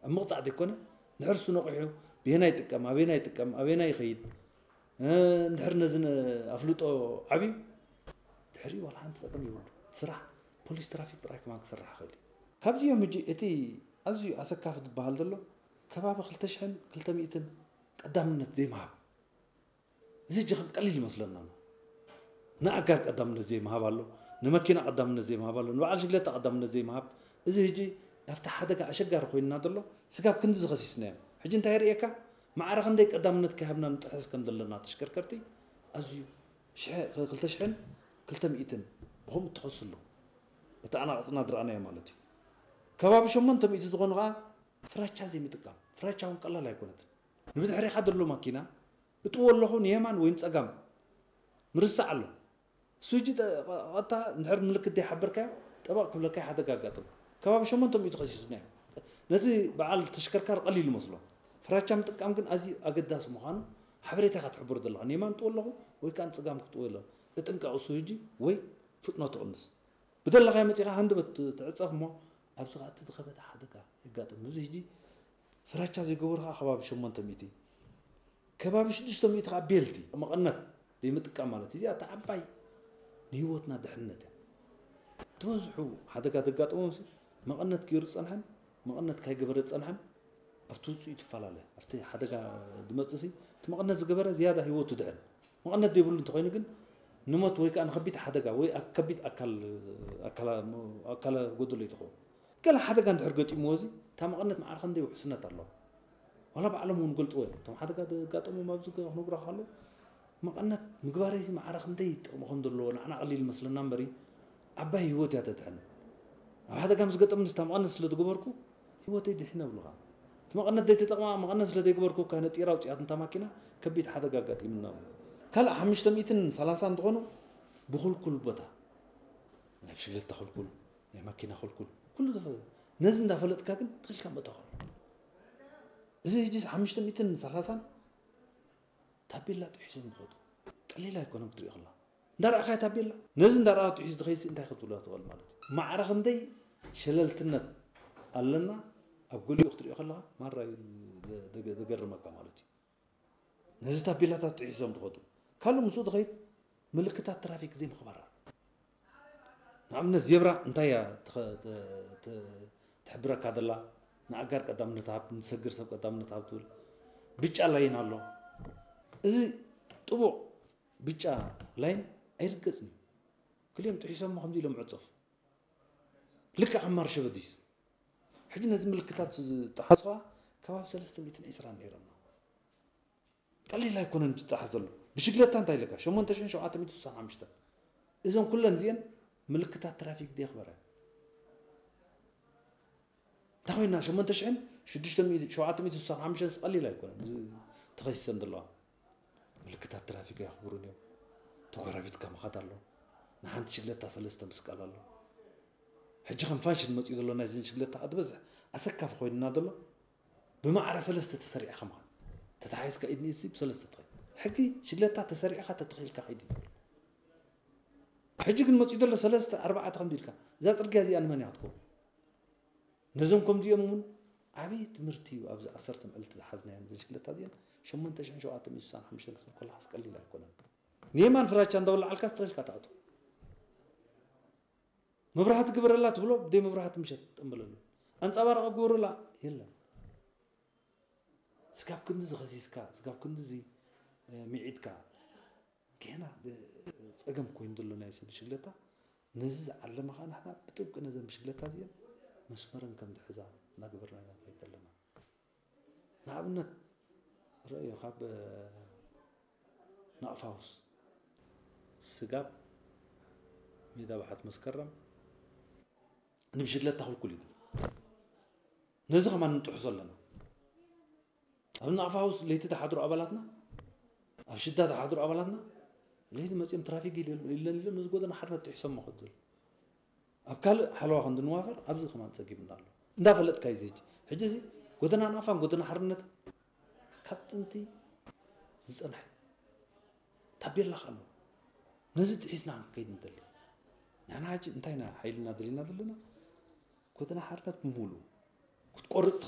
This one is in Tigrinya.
ኣብ ምቕጻዕ ዘይኮነ፣ ድሕር እሱ ነቒሑ ብየናይ ይጥቀም፣ ኣበየናይ ይጥቀም፣ ኣበየናይ ይኸይድ፣ እ፣ እንድሕር ነዚ ን-፣ ኣፍልጦ ዓብዩ፣ ድሕሪ ዋላ ሓንቲ ጸገም የብሉ። ስራሕ ፖሊስ ትራፊክ ጥራይ ከማን ክስራሕ ይኽእል እዩ። ካብዚኦም ሕጂ እቲ ኣዝዩ ኣሰካፊ ዝበሃል ዘሎ ከባቢ ክልተ ሽሕን ክልተ ሚእትን ቀዳምነት ዘይምሃብ። እዚ ሕጂ ከም ቀሊል ይመስለና ኣሎ። ንኣጋር ቀዳምነት ዘይምሃብ ኣሎ፣ ንመኪና ቀዳምነት ዘይምሃብ ኣሎ፣ ንበዓል ሽግለታ ቀዳምነት ዘይምሃብ። እዚ ሕጂ ኣብቲ ሓደጋ ኣሸጋሪ ኮይንና ዘሎ ስጋብ ክንዲ ዝኸሲስናዮ። ሕጂ እንታይ የርእየካ? ማዕረ ክንደይ ቀዳምነት ከይሃብና ንጥሕስ ከም ዘለና ተሽከርከርቲ ኣዝዩ ሽሕ-፣ ክልተ ሽሕን ክልተ ሚእትን ብኸምኡ እትኸሱ ኣሎ። በቲ ኣናቕጽና ዝረኣናዮ ማለት እዩ። ከባቢ ሸሞንተ ሚእቲ ዝኾኑ ኸዓ ፍራቻ ዘይምጥቃም። ፍራቻ እውን ቀላል ኣይኮነትን። ንብድሕሪኻ ዘሎ ማኪና እጥዎ ኣለኹ ንየማን ወይ ንጸጋም ምርሳዕ ኣሎ። እሱ ሕጂ ጠ-፣ ቀጥታ እንድሕር ምልክት ዘይሓበርካዮ ጠበቕ ክብለካ ሓደጋ ኣጋጥም። ከባቢ ሸሞንተ ሚእቲ ከሲስና እዩ። ነቲ በዓል ተሽከርካሪ ቀሊል ይመስሎ። ፍራቻ ምጥቃም ግን ኣዝዩ ኣገዳሲ ምዃኑ ሓበሬታ ኢኻ ትሕብሮ ዘለኻ። ንየማን እጥዎ ኣለኹ ወይ ከኣ ንጸጋም ክጥዎ ኣለኹ። እጥንቀቕ እሱ ሕጂ ወይ ፍጥነቱ ቅንስ። ብደለኻዮ መጺኻ ሃንደበት ትዕጸፍ እሞ ኣብዚ ኸኣ እቲ ዝኸበደ ሓደጋ የጋጥም። እዚ ሕጂ ፍራቻ ዘይገበሩ ኸኣ ከባቢ ሸሞንተ ሚእቲ፣ ከባቢ ሽዱሽተ ሚእቲ ኸኣ ቤልቲ መቐነት ዘይምጥቃም ማለት እዩ። እዚኣ እታ ዓባይ ንህይወትና ድሕንነት እያ። ዝበዝሑ ሓደጋ ዘጋጠሞም ሲ መቐነት ገይሩ ዝጸንሐን መቐነት ካይገበረ ዝጸንሐን ኣብቲ ውጽኢቱ ይፈላለ። ኣብቲ ሓደጋ ዝመጽእ ሲ እቲ መቐነት ዝገበረ ዝያዳ ህይወቱ ድሕን። መቐነት ዘይብሉ እንተኾይኑ ግን ንሞት ወይ ከኣ ንከቢድ ሓደጋ ወይ ኣ-፣ ከቢድ ኣካል፣ ኣካላ-፣ ኣካለ ጎደሎ እዩ ዝኸውን። ገለ ሓደጋ እንድሕር ገጢምዎ እዚ እታ መቐነት ማዕረ ክንደይ ውሕስነት ኣለዋ። ዋላ ባዕሎም እውን ይገልጽዎ እዮም። እቶም ሓደጋ ዘጋጠሞም ኣብዚ ክነግሩኻ ከለዉ መቐነት ምግባረይ እዚ ማዕረ ክንደይ ጥቕሚ ከም ዘለዎ ንዓና ቀሊል ይመስለና እምበሪ ዓባይ ህይወት እያ ተድሕን። ኣብ ሓደጋ ምስ ገጠምኒ እታ መቐነት ስለ ዝገበርኩ ህይወተይ ድሒነ እብሉኻ። እቲ መቐነት ዘይተጠቕማ መቐነት ስለ ዘይገበርኩ እኳ ነጢራ ኣውጺኣትኒ እታ ማኪና ከቢድ ሓደጋ ኣጋጢሙና ኣሎ። ካልእ ሓሙሽተ ሚእትን ሰላሳን ዝኾኑ ብኹልኩል ቦታ ናይ ብሽግለታ ክልኩል፣ ናይ ማኪና ክልኩል፣ ኩሉ ተፈ-፣ ነዚ እንዳፈለጥካ ግን ትኺልካ ምእታው። እዚ ሕጂ ሓሙሽተ ሚእትን ሰላሳን ታቤላ ጥሒሶም ዝኸዱ ቀሊል ኣይኮነን ክትሪኦ ከለኻ። እንዳረኣኻዮ ታቤላ፣ ነዚ እንዳረኣ ጥሒሱ ዝኸይድሲ እንታይ ክትብሎ ትኽእል ማለት እዩ። ማዕረ ክንደይ ሸለልትነት ኣለና ኣብ ገሊኡ ክትሪኦ ከለኻ ማራ እዩ ዘ-፣ ዘገ-፣ ዘገርመካ ማለት እዩ። ነዚ ታቤላታት ጥሒሶም ዝኸዱ። ካልእ ምስኡ ዝኸይድ ምልክታት ትራፊክ ዘይምኽባር ኣሎ። ንኣብነት ዜብራ እንታይ እያ ትኸ-፣ ተ-፣ ተ-፣ ትሕብረካ ዘላ? ንኣጋር ቀዳምነት ሃብ፣ ንሰግር ሰብ ቀዳምነት ሃብ ትብል። ብጫ ላይን ኣሎ። እዚ ጥቡቕ ብጫ ላይን ኣይርገጽን እዩ። ክልኦም ጥሒሶሞ ከምዚ ኢሎም ዕጸፉ። ልክዕ ከም ማርሸ በዲሱ። ሕጂ ነዚ ምልክታት ዝጠሓስዋ ከባቢ ሰለስተ ሚእትን ዕስራን ነይሮም። ቀሊል ኣይኮነን ዝጠሓስ ዘሎ። ብሽግለታ እንታይ ኢለካ? ሸሞንተ ሽሕን ሸውዓተ ሚእትን ስሳን ሓሙሽተን። እዞም ኩለን እዚአን ምልክታት ትራፊክ ዘየኽበረ። እንታይ ኮይና? ሸሞንተ ሽሕን ሽዱሽተ ሚእቲ፣ ሸውዓተ ሚእትን ስሳን ሓሙሽተን ቀሊል ኣይኮነን። እዚ ተኸሲሰን ዘለዋ። ምልክታት ትራፊክ ኣየኽብሩን እዮም። ተጎራቢትካ ምኻድ ኣሎ። ንሓንቲ ሽግለታ ሰለስተ ምስቃል ኣሎ። ሕጂ ከም ፋሽን መፂኡ ዘሎ ናይዘን ሽግለታ ዝበዝሕ ኣሰካፊ ኮይንና ዘሎ ብማዕረ ሰለስተ ተሰሪዕካ ምኻድ። ተታሓሒዝካ ኢድ ንኢድ ሲ ብሰለስተ ትኸይድ። ሕጊ ሽግለታ ተሰሪዕካ ተተኺልካ ከይድ እዩ ዝብል። ሕጂ ግን መፂኡ ዘሎ ሰለስተ ኣርባዕተ ከምዚ ኢልካ እዛ ፅርግያ እዚኣ ንመን እያ ክትከውን? ነዞም ከምዚኦም እውን ዓብዪ ትምህርቲ እዩ። ኣብዚ ዓሰርተ መዓልቲ ዝሓዝናየን እዘን ሽግለታ እዚአን ሸሞንተ ሽሕን ሸውዓተ ሚእትን ስሳን ሓሙሽተን ክትብል ከለኻስ ቀሊል ኣይኮነን። ንየማን ፍራቻ እንዳወላዓልካ ዝተኺልካ ትኣቱ። መብራህቲ ግበረላ ትብሎ፣ ብደይ መብራህቲ ምሸት ጠምበለሉ። ኣንጻባረቐ ግበረላ፣ የለን። ስጋብ ክንድዚ ኸሲስካ፣ ስጋብ ክንድዚ፣ እ፣ ሚዒድካ፣ ገና፣ እ፣ ጸገም ኮይኑ ዘሎ ናይ ሰብ ሽግለታ፣ ነዚ ዝዓለመ ኸኣ ንሕና ብጥብቂ ነዘን ብሽግለታ እዚአን መስመረን ከም ዝሕዛ እናገበርና ኢና ንኸይድ ዘለና። ንኣብነት፣ ረእዮ፣ ካብ፣ እ፣ ናቕፋውስ ስጋብ ሜዳ ባሕት መስከረም ንብሽግለታ ክልኩል እዩ። ነዚ ከማን ንጥሕሶ ኣለና። ኣብ ናቕፋውስ ለይቲ ዝሓድሩ ኣባላትና፣ ኣብ ሽዳ ዝሓድሩ ኣባላትና፣ ለይቲ መጺኦም ትራፊክ ኢለ-፣ ኢለን ኢሎም ነዚ ጎደና ሓድነት ጥሒሶሞ ከድል። ኣብ ካልእ ሓለዋ ከም ዝንዋፈር ኣብዚ ከማን ጸጊቡና ኣሎ። እንዳፈለጥካ እዩ እዚ ሕጂ። ሕጂ እዚ ጎደና ናቕፋን ጎደና ሓርነትን ካብ ጥንቲ ዝጸንሐ ታቤላ ኣሎ። ነዚ ጥሒስና ክንከይድ ንደሊ። ንሕና ሕጂ እንታይ ኢና ሓይልና ደሊና ዘለና? ጎደና ሓርነት ብምሉኡ ክትቆርጽ